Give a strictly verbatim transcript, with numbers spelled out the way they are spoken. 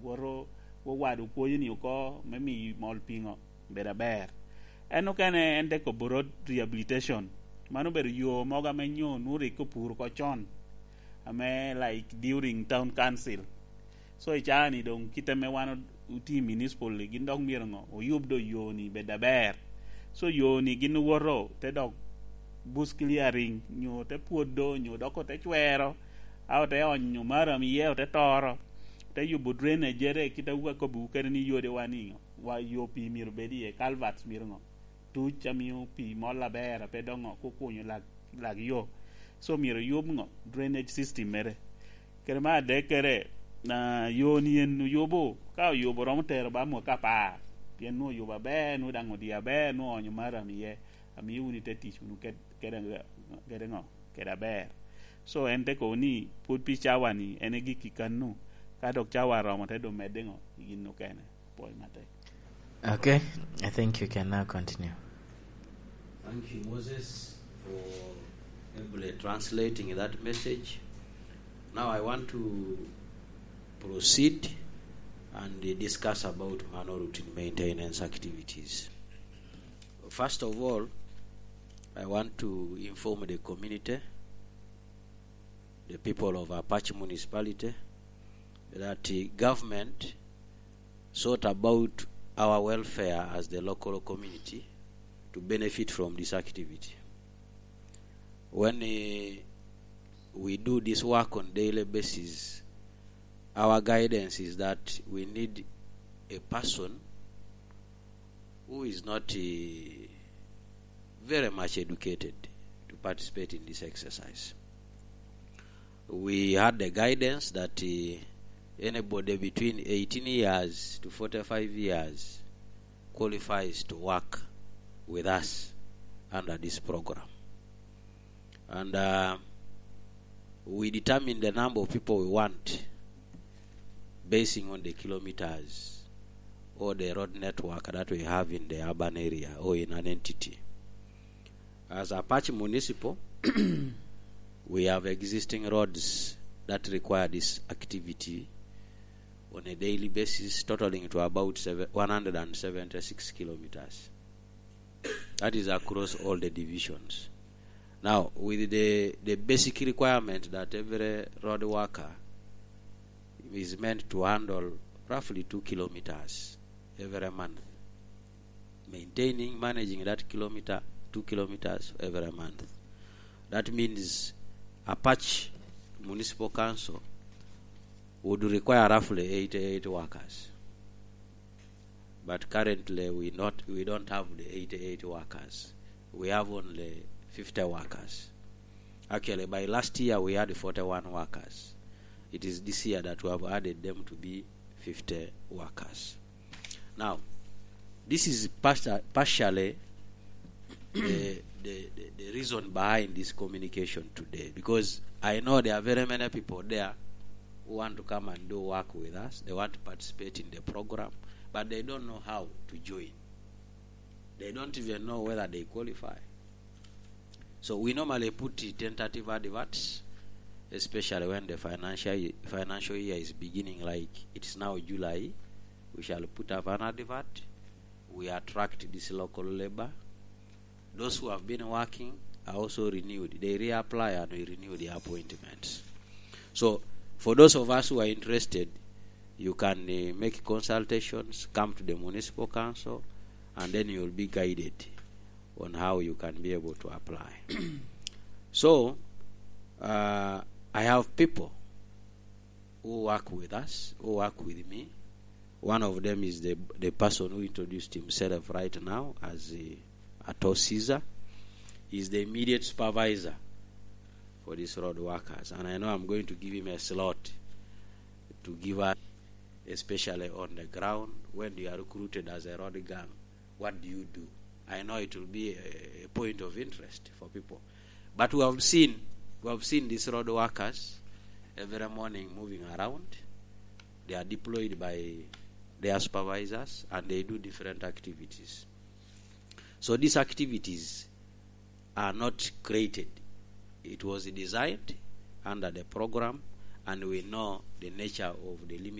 woto wowado kwoyo-ni oko me miyo mol piŋo bedo aber. En okene en te kobo road rehabilitation. Man obedo yo mogo ame nyo nwoŋo rik opur oko con, ame like during town council. So i caa-ni doŋ kite ame wan o-, otye i municipal-li, gin dok myero ŋo? Oyub do yo-ni bed aber. So yo-ni gin owoto te dok bush clearing, nyo te pwodo, nyo dok ote cwero, a ote onyo maram iye, ote toro, te yubo drainage ere, kit a akobbiwu kede ni yodi wa ni ŋo? Wa yo pii myero bed iye, culverts myero ŋo? Tuc a mio pii mol aber, a pe dok ŋo? Kukunyo lak, lak yo. So myero yub ŋo? Drainage system mere. Kede me adekkere, na, yo-ni en oyubo, ka oyubo romo tero ba mwaka apar, pien nwoŋo oyubo aber, nwoŋo daŋ odie aber, nwoŋo oonyo maram iye, amio wunu i te tic wunu ked-, kede, kede ŋo? Kede aber. So en te kobo ni pwod pi cawa-ni en egikki kannu, ka dok cawa oromo te doŋ medde ŋo? I gin okene. Apwoyo matek. Okay, I think you can now continue. Thank you, Moses, for ably translating that message. Now I want to proceed and discuss about mano routine maintenance activities. First of all, I want to inform the community, the people of Apac Municipality, that the government thought about our welfare as the local community to benefit from this activity. When, eh, we do this work on daily basis, our guidance is that we need a person who is not, eh, very much educated to participate in this exercise. We had the guidance that, eh, anybody between eighteen years to forty-five years qualifies to work with us under this program. And, uh, we determine the number of people we want basing on the kilometers or the road network that we have in the urban area or in an entity. As Apac Municipal, we have existing roads that require this activity on a daily basis, totaling to about seven, one hundred and seventy-six kilometers. That is across all the divisions. Now, with the, the basic requirement that every road worker is meant to handle roughly two kilometers every month, maintaining, managing that kilometer, two kilometers every month. That means Apac Municipal Council would require roughly eighty-eight workers. But currently we not, we don't have the eighty-eight workers. We have only fifty workers. Actually, by last year we had forty-one workers. It is this year that we have added them to be fifty workers. Now, this is partia-, partially the, the, the, the reason behind this communication today, because I know there are very many people there who want to come and do work with us. They want to participate in the program, but they don't know how to join. They don't even know whether they qualify. So we normally put tentative adverts, especially when the financial ye-, financial year is beginning, like it's now July. We shall put up an advert. We attract this local labor. Those who have been working are also renewed. They reapply and we renew their appointments. So, for those of us who are interested, you can, uh, make consultations, come to the municipal council, and then you will be guided on how you can be able to apply. So, uh, I have people who work with us, who work with me. One of them is the, the person who introduced himself right now as, uh, Ato Caesar. He's the immediate supervisor for these road workers, and I know I'm going to give him a slot to give us, especially on the ground, when you are recruited as a road gang, what do you do? I know it will be a, a point of interest for people. But we have seen, we have seen these road workers every morning moving around. They are deployed by their supervisors and they do different activities. So these activities are not created. It was designed under the program, and we know the nature of the limited